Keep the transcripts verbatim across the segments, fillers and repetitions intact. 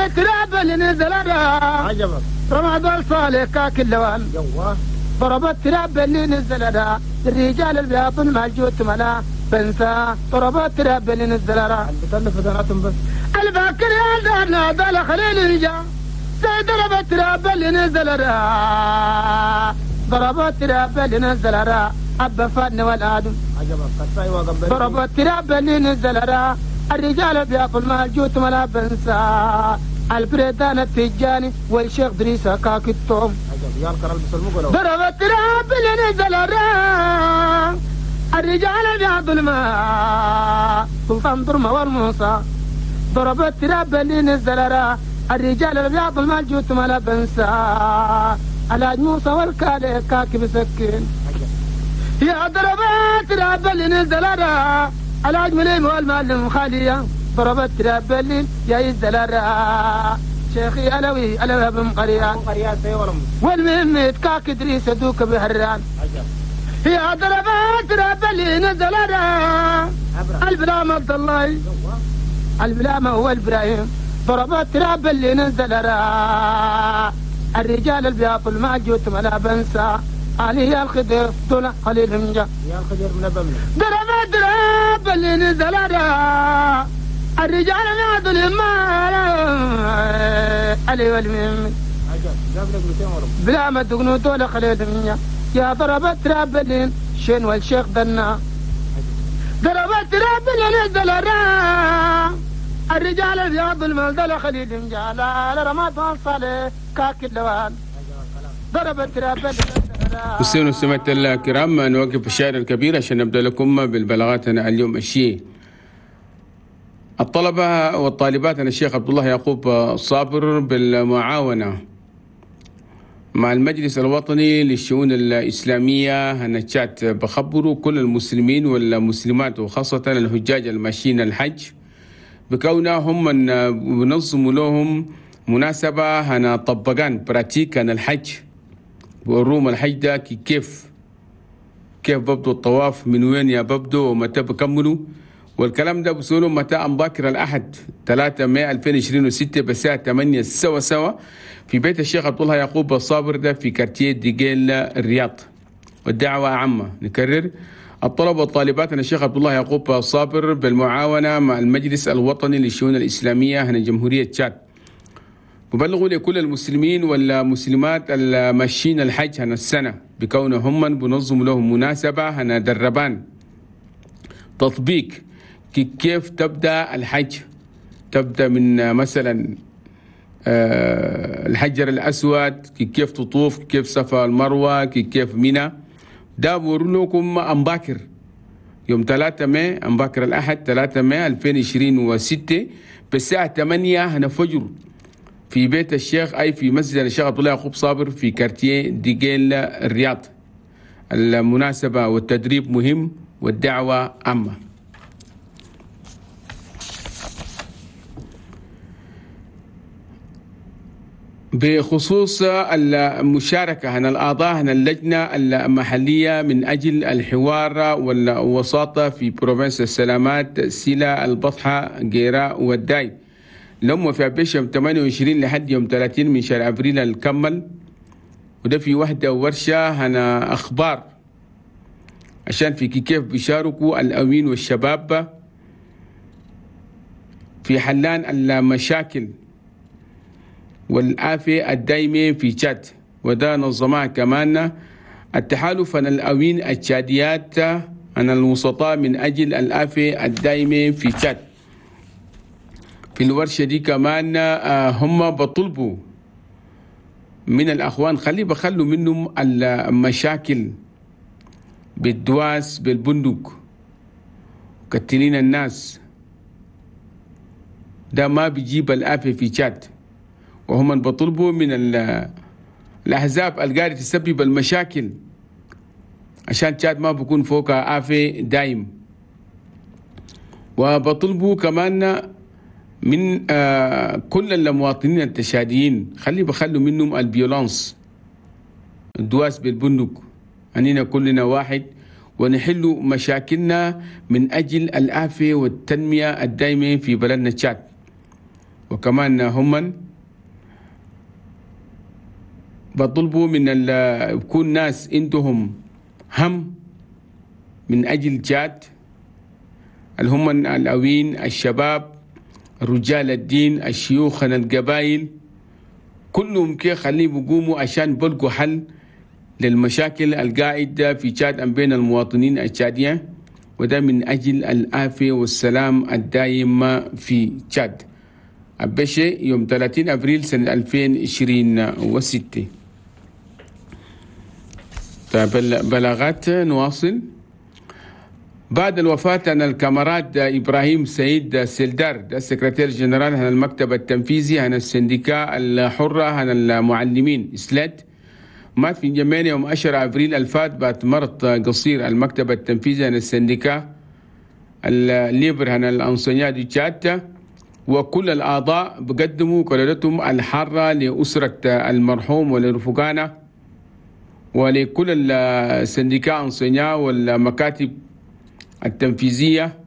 التراب اللي نزل عجبك رمضان صالح كاك اللوان يوه ضرب التراب اللي نزل الرجال البياض مالجوت ملا بنسى ضرب التراب اللي نزل بتلف دناتهم بس الباكر يا دارنا دال خليل رجال ضرب التراب اللي نزل ضرب التراب اللي نزل أبا فادن والآدم عجبك ضرب التراب اللي نزل الرجال بياكل مالجوت ملا بنسى البريدان التجاني والشيخ دريسة كاك التوم ضرب التراب اللي نزل الرجال بياكل ما سلطان درمة والموسى ضرب التراب اللي نزل الرجال الابيض المالجوت ملا بنسى الحاج موسى والكالي كاكي بسكين يا ضربات تراب اللي نزل الحاج مليم والمعلم خالية ضربت تراب اللي يا يزل شيخي علوي علوي بن قريان والمهم كاك ادريس دوك بهران يا ضربات تراب اللي نزل البلام عبد الله البلام هو ابراهيم ضربات تراب اللي نزل الرجال البياض الماجوت ملا بنسى علي الخضر دون خليل منجا يا الخضر من بمن ضربات تراب اللي نزل الرجال البياض المال علي والمهم بلا ما دقنو دول خليل منجا يا ضربات تراب اللي شين والشيخ دنا ضربات تراب اللي نزل الرجال الابيض الملدل خليل جالا رمضان صالح كاك اللوان ضرب التراب. مستمعينا ومستمعات الكرام، نوقف الشاعر الكبير عشان نبدا لكم بالبلاغات اليوم الشيء. الطلبة والطالبات أنا الشيخ عبد الله يعقوب صابر بالمعاونه مع المجلس الوطني للشؤون الإسلامية هنشات بخبروا كل المسلمين والمسلمات وخاصة الحجاج الماشيين الحج بكونهم من بنظموا لهم مناسبة هنا طبقان pratique عن الحج، بوروم الحج ده كيف كيف ببدو الطواف، من وين يا ببدو ومتى بكملوا، والكلام ده بسولوا متى أمباكر الأحد ثلاثة مايو ألفين وعشرين وستة بالساعة ثمانية سوا سوا في بيت الشيخ عبد الله يعقوب الصابر ده في quartier ديجيل الرياض. والدعوة عامة، نكرر الطلبة والطالبات أن الشيخ عبد الله يعقوب الصابر بالمعاونة مع المجلس الوطني للشؤون الإسلامية هنا جمهورية تشاد ببلغوا لكل المسلمين والمسلمات الماشيين الحج هنا السنة بكونهم من بنظم لهم مناسبة هنا دربان تطبيق كيف تبدأ الحج، تبدأ من مثلا الحجر الأسود، كيف تطوف، كيف صفا المروة، كيف منى. ده بورو لكم أمباكر يوم ثلاثة مايو أمباكر الأحد ثلاثة مايو ألفين وعشرين وستة بالساعة ثمانية هنا فجر في بيت الشيخ أي في مسجد الشيخ عبد الله يعقوب صابر في quartier ديجيل الرياض. المناسبة والتدريب مهم والدعوة عامة. بخصوص المشاركة هنا الأعضاء هنا اللجنة المحلية من أجل الحوار والوساطة في province السلامات سيلا البطحة جيراء والداي لهم في أبيش يوم ثمانية وعشرين لحد يوم ثلاثين من شهر أبريل الكمل، وده في وحدة ورشة هنا أخبار عشان في كيف بيشاركوا الأمين والشباب في حلان المشاكل والآفة الدايمة في تشاد، وده نظمها كمان التحالف عن الأوين التشاديات عن الوسطاء من أجل الآفة الدايمة في تشاد. في الورشة دي كمان هم بطلبوا من الأخوان خلي بخلوا منهم المشاكل بالدواس بالبندق كتلين الناس، ده ما بيجيب الآفة في تشاد. وهم بطلبوا من الأحزاب القاعدة تسبب المشاكل عشان تشاد ما بكون فوقها آفة دايم. وبطلبوا كمان من آه كل المواطنين التشاديين خلي بخلوا منهم ال violence الدواس بالبندق، أننا كلنا واحد ونحل مشاكلنا من أجل الآفة والتنمية الدايمة في بلدنا تشاد. وكمان هم بطلبوا من يكون ناس عندهم هم من أجل تشاد، اللي هم الأوين، الشباب، رجال الدين، الشيوخ، القبائل، كلهم كي خليه بيقوموا عشان بلقوا حل للمشاكل القاعدة في تشاد بين المواطنين التشاديين، وده من أجل العافية والسلام الدائم في تشاد. أبشي يوم ثلاثين أبريل سنة ألفين وعشرين وستة. طيب بلاغات نواصل. بعد الوفاة عن ال camarade إبراهيم سيد سيلدار، ده ال secrétaire général عن المكتب التنفيذي عن ال syndicat الحرة عن المعلمين SLET، مات في جمينة يوم عشرة أبريل الفات بعد مرض قصير. المكتب التنفيذي عن ال syndicat ال libre عن ال enseignants du Tchad وكل الأعضاء بقدموا كلمتهم الحارة لأسرة المرحوم ولرفقانه ولكل ال syndicat enseignants والمكاتب التنفيذية،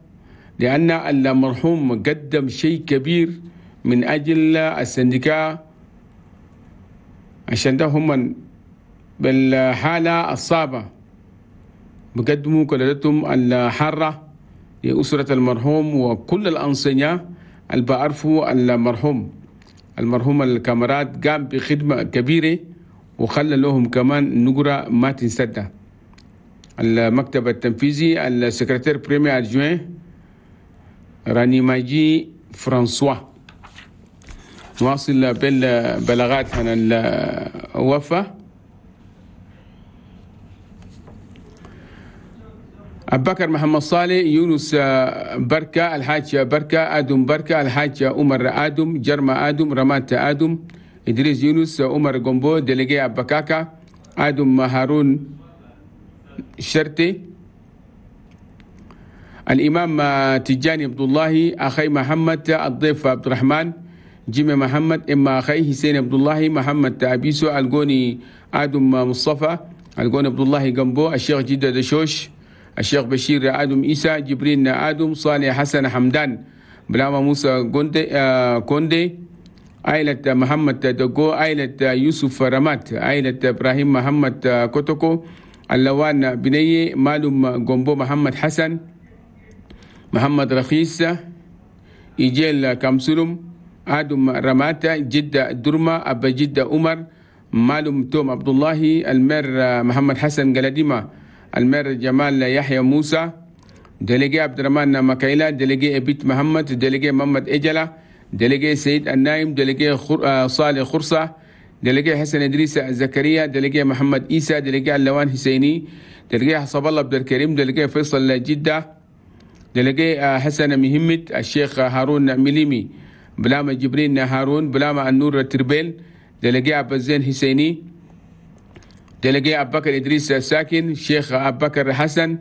لأن المرحوم قدم شيء كبير من أجل ال syndicat، عشان ده هم بالحالة الصعبة بقدموا كلمتهم الحارة لأسرة المرحوم وكل ال enseignants اللي بعرفوا المرحوم. المرحوم ال camarade قام بخدمة كبيرة وخلى لهم كمان نقرة ما تنسدى. المكتب التنفيذي ال secrétaire premier adjoint راني ماجي فرانسوا. نواصل بالبلاغات عن الوفاة. أبو بكر محمد صالح، يونس بركة، الحاج بركة، آدم بركة، الحاج عمر آدم، جرما آدم، رمات آدم، إدريس يونس، عمر جومبو، délégué أبكاكا، آدم هارون شرتي، الإمام تجاني عبد الله، أخي محمد، الضيف عبد الرحمن، جيمي محمد، إما أخي حسين عبد الله، محمد أبيسو، الجوني آدم مصطفى، الجوني عبد الله جنبو، الشيخ جدة دشوش، الشيخ بشير آدم إيسى، جبرين آدم، صالح حسن حمدان، بلاما موسى كوندي، آه كوندي، عائلة محمد دقو، عائلة يوسف رمات، عائلة إبراهيم محمد كوتوكو، اللوان بني، مالوم جومبو، محمد حسن، محمد رخيص، إيجيل كامسلم، آدم رمات، جدة درما، أبا جدة عمر، مالوم توم عبد الله، المير محمد حسن قلديمة، المير جمال يحيى موسى، délégué عبد الرحمن مكايلا، délégué أبيت محمد، délégué محمد إجلة، délégué سيد النايم، délégué خر... صالح خرصة، délégué حسن إدريس زكريا، délégué محمد إيسى، délégué اللوان حسيني، délégué حسب الله عبد الكريم، délégué فيصل جدة، délégué حسن مهمت، الشيخ هارون مليمي، بلامة جبرين هارون، بلامة النور تربيل، délégué عبد الزين حسيني، délégué أبو بكر إدريس ساكن، شيخ أبو بكر حسن،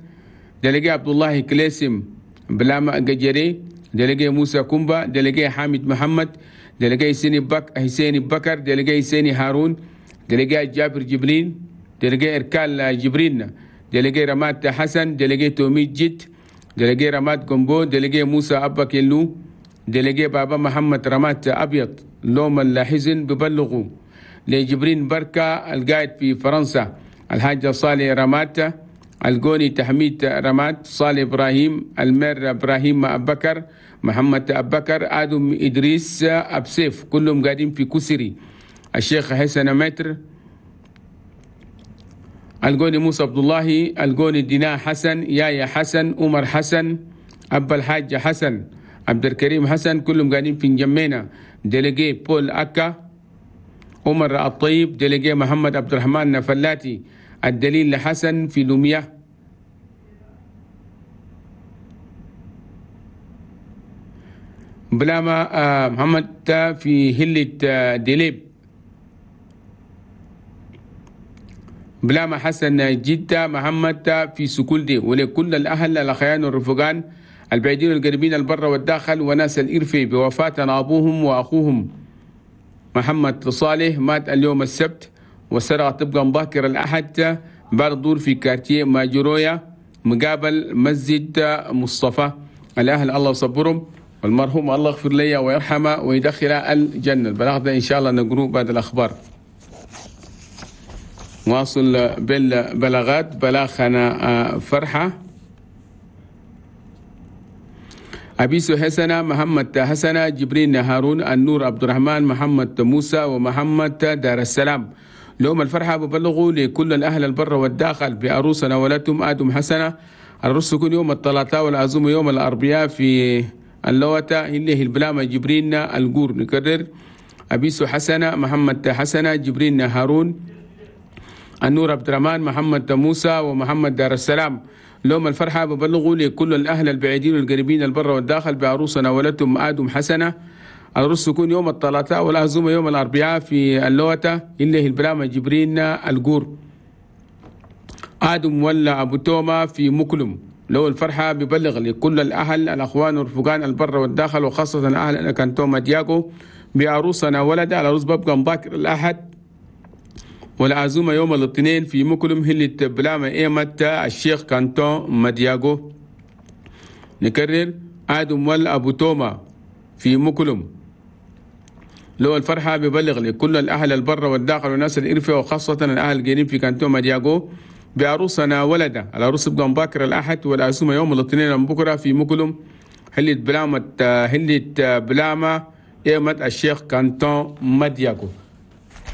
délégué عبد الله كليسم، بلامة قجري، délégué موسى كومبا، délégué حامد محمد، délégué حسين بك حسين بكر، délégué حسين هارون، délégué جابر جبرين، délégué إركال جبرين، délégué رمات حسن، délégué تومي جيت، délégué رمات جومبو، délégué موسى أبا كيلو، délégué بابا محمد رمات أبيض. لوم الحزن ببلغوا لجبرين بركة القائد في فرنسا، الحاج صالح رمات، الجوني تحميد رمات، صالح إبراهيم، المير إبراهيم أبكر، محمد أبكر، آدم إدريس أبسيف، كلهم قاعدين في كسري. الشيخ حسن متر، الجوني موسى عبد الله، الجوني دينا حسن، يايا حسن، عمر حسن، أبا الحاج حسن، عبد الكريم حسن، كلهم قاعدين في نجمينا. délégué بول أكا، عمر الطيب، délégué محمد عبد الرحمن فلاتي، الدليل حسن في لوميا. بلاما محمد في هلة دليب. بلاما حسن جدة محمد في سكولدي. ولكل الأهل الأخيان والرفقان البعيدين والقريبين البر والداخل وناس الإرفي بوفاة أبوهم وأخوهم محمد صالح، مات اليوم السبت والسرعة تبقى مبكر الأحد بعد الظهر في كارتيه ماجورويا مقابل مسجد مصطفى. الأهل الله يصبرهم والمرحوم الله يغفر لي ويرحمه ويدخله الجنة. البلاغ ده إن شاء الله نقروه بعد الأخبار. واصل بالبلاغات. بلاغنا فرحة أبيسو حسنة، محمد حسنة، جبرين هارون، النور عبد الرحمن، محمد موسى، ومحمد دار السلام. لهم الفرحة ببلغوا لكل الأهل البر والداخل بعروسنا ولدتم آدم حسنة. العرس يكون يوم الثلاثاء والعزومة يوم الأربعاء في اللوتة اللي هي البلامة جبرين الجور. نكرر أبيسو حسنة، محمد حسنة، جبرين هارون، النور عبد الرحمن، محمد موسى، ومحمد دار السلام. لهم الفرحة ببلغوا لكل الأهل البعيدين والقريبين البر والداخل بعروسنا ولدتم آدم حسنة. العرس يكون يوم الثلاثاء والعزومة يوم الأربعاء في اللوتة اللي هي البلامة جبرين الجور. آدم ولا أبو توما في مكلم. لو الفرحة ببلغ لكل الأهل الأخوان والرفقان البر والداخل وخاصة الأهل كانتوما دياغو بعروسنا ولد. العروس ببقى مباكر الأحد والعزومة يوم الاثنين في مكلم هلة بلامة إيمة الشيخ كانتون مدياغو. نكرر آدم والأبو توما في مكلم. لو الفرحة ببلغ لكل الأهل البر والداخل والناس الإرفة وخاصة الأهل القريب في كانتون مدياغو بعروسنا ولدة. العروس بقى مباكر الأحد والعزومة يوم الاثنين بكرة في مكلم هلة بلامة هلة بلامة إيمة الشيخ كانتون مدياغو.